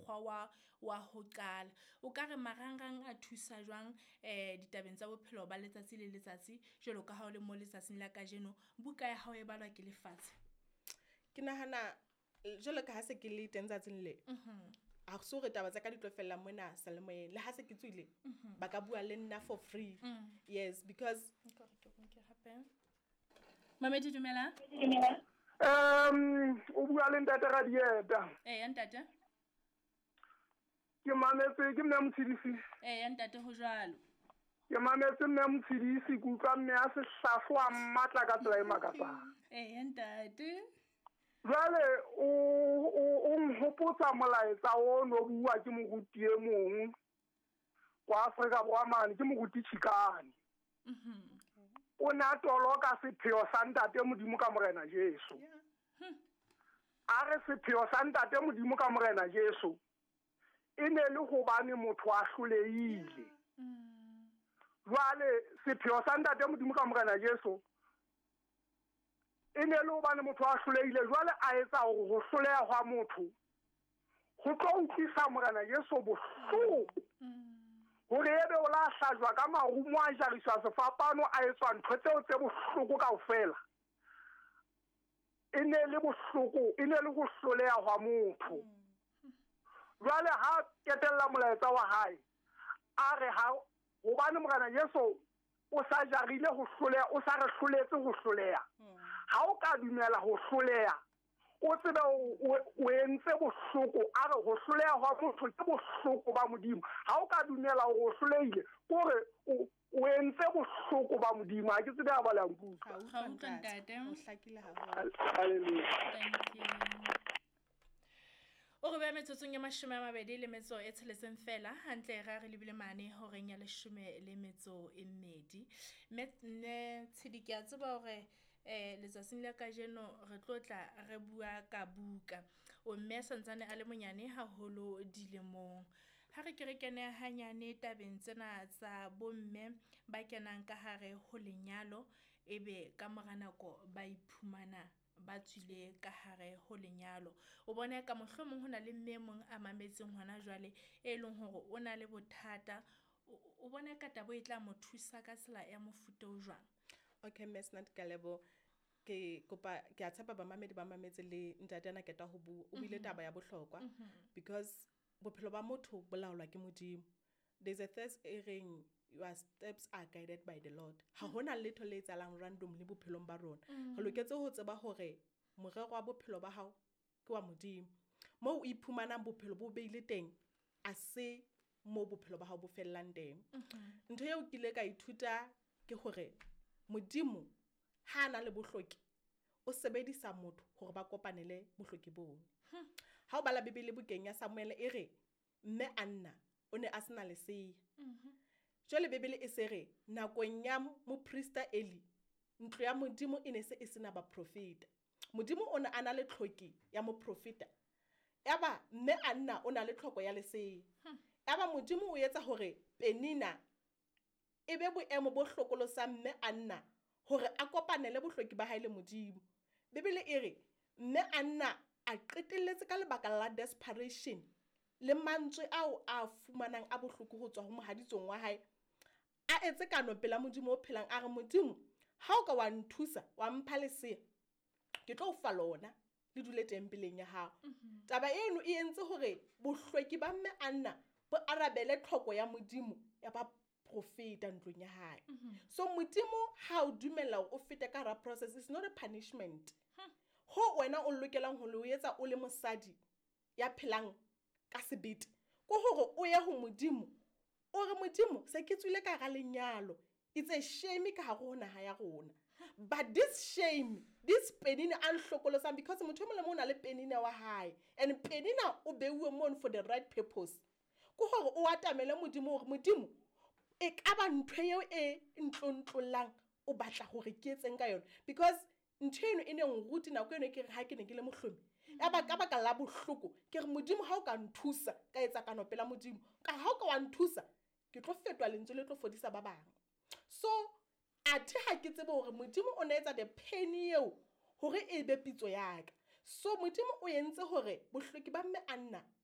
mokgwa wa ho qala. O ka re marangrang a thusa jwang ditabeng tsa bophelo ba letsatsi le letsatsi jwalo ka ha o le mo letsatsing la kajeno buka ya hao e balwa ke lefatshe? Ke nahana jwalo ka ha se ke le teng tsatsing le, ha se hore taba tsa ka di tlo fella mona seyalemoyeng. Le ha se ke tswile, ba ka bua le nna for free. Yes, because Mamedi, dumela. O bua le ntate Radieta. Eya ntate. Ke mametse ke mme Motshidisi. Eya ntate, ho jwalo. Ke mametse mme Motshidisi, ke utlwa mme a sehlahlo a matla ka tsela e makatsang. Eya ntate. Jwale o nhopotsa molaetsa o no bua ke moruti e mong kwa Afrika Borwa mane, ke moruti Chikane. O ne a toloka sepheo sa ntate Modimo ka Morena Jesu. A re sepheo sa ntate Modimo ka Morena Jesu e ne le hobane motho a hlolehile. Jwale sepheo sa ntate Modimo ka Morena Jesu e ne le hobane motho a hlolehile, jwale a etsa hore ho hloleha hwa motho ho tlo utlwisa Morena Jesu bohloko. Hore ebe o la hlajwa ka marumo a jariswa sefapano a etswa ntho tseo tse bohloko kaofela. E ne le bohloko, e ne le ho hloleha hwa motho. Jwale ha ketella molaetsa wa hae, a re ha hobane Morena Jesu o sa jarile ho hloleha, o sa re hloletse ho hloleha. Ha o ka dumela ho hloleha, o tsebe o entse bohloko. A re ho hloleha hwa motho ke bohloko ba Modimo. Ha o ka dumela hore o hlolehile, ke hore o entse bohloko ba Modimo. Ha ke tsebe ha ba le nkutlwa. Ga utlwa ntate. O hlakile haholo. Hallelujah. Thank you. O re beha metsotsong ya 26 fela, hantle ra re lebile mane horeng ya 12. Mme Tshidi, ke a tseba hore letsatsing la kajeno re tlo tla re bua ka buka. O mme a santsane a le monyane haholo dilemong. Ha re ke re kene hanyane tabeng tsena tsa bomme ba kenang ka hare ho lenyalo, ebe ka mora nako ba iphumana ba tswile ka hare ho lenyalo. O bona ka mohlomong ho na le mme e mong a mametseng hona jwale e leng hore o na le bothata. O bona ka taba e tla mo thusa ka tsela ya mofuta o jwang? Okay, Mme Snat Kalebo, ke kopa ke a tshepa bamamedi ba mametse le ntate ana keta ho bua. O buile taba ya bohlokwa because bophelo ba motho bo laolwa ke Modimo. There's a verse e reng your steps are guided by the Lord. Ha hona letho le etsahalang randomly bophelong ba rona. Re loketse ho tseba hore morero wa bophelo ba hao ke wa Modimo. Moo o iphumanang bophelo bo beile teng, a se mo bophelo ba hao bo fellang teng. Ntho eo ke ile ka ithuta ke hore Modimo ha a na le bohloki, o sebedisa motho hore ba kopanele bohloki boo. Ha o bala Bibele bukeng ya Samuel e re mme Anna o ne a sena lesea. Jwale Bibele e se re nakong ya moprista Eli, ntlo ya Modimo e ne se e sena baprofeta. Modimo o ne a na le tlhoki ya moprofeta. Yaba mme Anna o na le tlhoko ya lesea. Yaba Modimo o etsa hore Penina e be boemo bo hlokolosang mme Anna hore a kopanele bohloki ba hae le Modimo. Bibele e re mme Anna a qetelletse ka lebaka la desperation le mantswe ao a fumanang a bohloko ho tswa ho mohaditsong wa hae, a etse kano pela Modimo o phelang, a re Modimo, ha o ka wa nthusa wa mpha lesea, ke tlo o fa lona le dule tempeleng ya hao. Taba eno e entse hore bohlweki ba mme Anna bo arabele tlhoko ya Modimo ya ba profeta ntlong ya hae. So Modimo ha o dumella hore o fete ka hara process, it's not a punishment. Ho wena o lokelang ho lo etsa o le mosadi ya phelang ka sebete, ke hore o ye ho Modimo, o re Modimo se ke tswile ka hara lenyalo, it's a shame ka hare ho naha ya rona. But this shame, this Penina a nhlokolosang, because motho e mong le mong o na le Penina wa hae, and Penina o beuwe mono for the right purpose. Ke hore o atamele Modimo hore Modimo e ka ba ntho eo e ntlontlolang o batla hore ke etseng ka yona, because ntho eno e ne nruti nako eno ke re ha ke ne ke le mohlomi, ya ba ka baka la bohloko ke re Modimo ha o ka nthusa ka etsa kano pela Modimo, ka ha o ka wa nthusa ke tlo fetoha lentswe le tlo fodisa ba bang. So athe ha ke tsebe hore Modimo o ne etsa the pain eo hore e be pitso ya ka. So Modimo o entse hore bohloki ba mme Anna